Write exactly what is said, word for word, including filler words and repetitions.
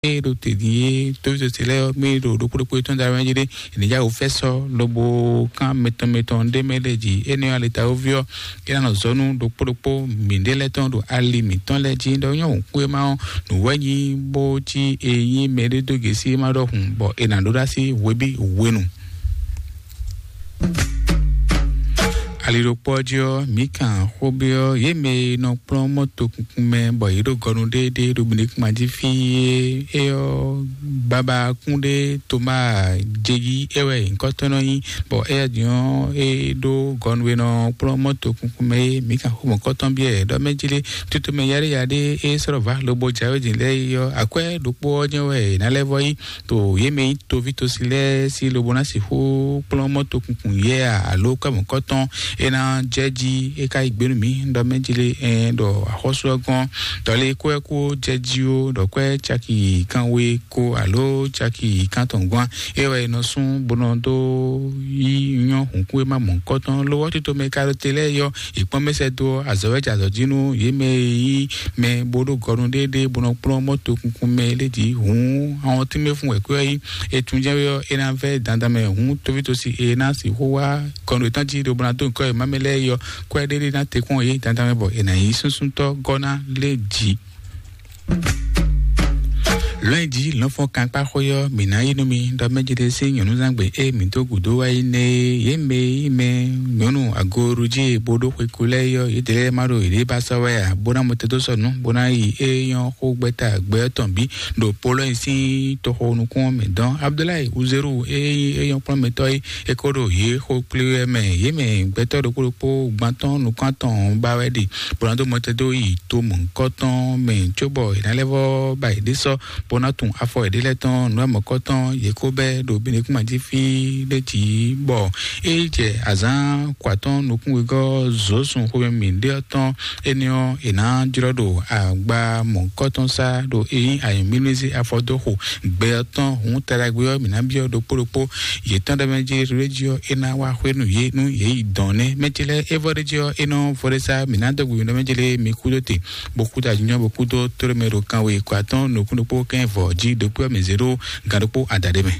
E ɖo te din e tóvítɔ́ ce lɛ́ɛ ɔ́, mí ɖo ɖokpó ɖokpó tɔn da wɛn jí ɖé, ènìyá wò fɛ́ sɔ́ lobo kán mɛtɔn mɛtɔn ɖé mɛ lɛ jí. Énɛ́ ɔ́, alitawoví ɔ́, é ná nɔ zɔ́ nú ɖokpó ɖokpó mǐɖé lɛ́ɛ tɔn ɖo ali mǐtɔn lɛ́ɛ jí. Ɖɔ nyɔ́ wǔ kú e má ɔ́, nǔ wɛ nyí bó cí e nyí mɛɖé dó gěsí e má ɖɔhun, bɔ è nǎ ɖó ɖó así hwebí hwenu. Ali ɖokpó ɔ́ jí ɔ́, mǐ kan xó byɔ́ yě mɛ e nɔ kplɔ́n mɔ́to kunkun mɛ, bɔ yě ɖo gɔnu ɖéeɖée ɖo Benekuma jí fí é. É ɔ́, babakún ɖé Toma Jegi é wɛ nyǐkɔtɔn nɔ nyí, bɔ éyɛ́ din ɔ́, é ɖó gɔnu e nɔ kplɔ́n mɔ́to kunkun mɛ é. Mǐ kan xó mɔ̌kɔtɔn byɔ́ ɛ ɖɔ mɛ jí lé, tutu mɛ yaɖéyaɖé é sɔ́ ɖɔ vǎ lobo jǎwe din lɛ́ɛ é ɔ́, akwɛ́ ɖokpó ɔ́ jɛ́n wɛ è nǎ lɛ́ vɔ yí. To yě mɛ nyí toví tosí lɛ́ɛ sí lobo ná sixú kplɔ́n mɔ́to kunkun yɛ a, alo kɔ́mɔ̌kɔ́tɔn é ná jɛ jí é ká yi gbénu mǐ ɖɔ mɛ jí lé, ɛn ɖɔ axɔ́sú ɔ́ gɔ́n. Dɔ̌lé kó ɛ kó jɛ jí ó, ɖɔ kwɛ́ caki kanwe ko alo caki kantɔn gɔ́n é wɛ è nɔ sún bó nɔ dó yí nyɔ́ hǔnkún e má mɔ̌kɔ́tɔn lówó tito mɛ ka ɖo te lɛ́ɛ yɔ. Ìkpɔ́n mɛ sɛ́ dó azɔ̌ wɛ jɛ azɔ̌ jí nú yě mɛ e nyí mɛ bó ɖó gɔnu ɖéeɖée bó nɔ kplɔ́n mɔ́to kunkun mɛ lé jí hǔn, àwọn tínmɛ fún wɛ̌kwɛ́ ɔ́ nyí. Etun jɛ́n wɛ ɔ́, é ná vɛ́ dandan mɛ hǔn tóvítosi e ná sixú wá gɔnu yětɔn jí ɖo bó ná dó nyǐkɔ e má mɛ lɛ́ɛ yɔ kwɛ́ ɖéɖé ná te kpɔ́n yě dandan mɛ bɔ è nǎ nyí súnsúntɔ́ gɔ́ ná lé jí. Lɔ̌nyijǐ lɔ̌nfɔ́n kankpáxwé ɔ́, mǐ ná yí nú mi ɖɔ mɛ jí ɖé sín nyɔ̌núzangbe e mǐ dó gǔdo wá yi nɛ́ é. Yě mɛ e nyí mɛ nyɔ̌nu agoɖují e bó ɖó xwe kú lɛ́ɛ é ɔ́, yědɛɛ lɛ́ɛ má ɖo yěɖée ba sɔ́ wɛ ǎ, bó ná mɔ te dó sɔ́ nǔ, bó ná yi é nyɔ́ xó gbɛ́ta gbɛ ɔ́ tɔn bǐ ɖo Polɔ́nyɛ sín toxo nukún ɔ́ mɛ dɔn. Abudulayi Uzelu e nyí é nyɔ́ kplɔ́nmɛtɔ́ é, é ko ɖo yě xó kplé wɛ mɛ. Yě mɛ gbɛtɔ́ ɖokpó ɖokpó gban tɔn nukún atɔn ba wɛ ɖe, bó ná dó mɔ te dó yi to mɔ̌hunkɔtɔn mɛ, cóbɔ è nǎ lɛ́ vɔ́ ba yěɖée sɔ́ bó ná tun afɔ yěɖée lɛ́ɛ tɔn nǔ e mɔ̌kɔtɔn yě ko bɛ́ ɖo Benekuma jí fí ɖé jí, bɔ é jɛ azǎn kɔ atɔ́ɔ́n nukún wegɔ́ Zǒsun xomɛ mǐɖé ɔ́ tɔn. Énɛ́ ɔ́, è nǎ jlɔ́ ɖo agba mɔ̌kɔtɔn sá ɖo é nyí ayɔ̌mímízí afɔdóxo gbɛ ɔ́ tɔn. Hǔn taɖagbe ɔ́, mǐ ná byɔ́ ɖokpó ɖokpó yětɔn ɖ'é mɛ jí rédíò é ná wá xwé nú yě nú yě yi dɔn nɛ́. Mɛ ce lɛ́ɛ é vɔ ɖ'é jí ɔ́, é nɔ vɔ ɖ'é sá, mǐ ná dó gbe mǐ ɖɔ mɛ ce lɛ́ɛ mi kú dó te, bó kú dó ajínjɔ́n bó kú dó tóɖó mɛ ɖo kanwe kɔ atɔ́ɔ́n nukún ɖokpó kɛ́n vɔ jí ɖokpó ɔ́ mǐ zé ɖó gan ɖokpó adaɖé mɛ.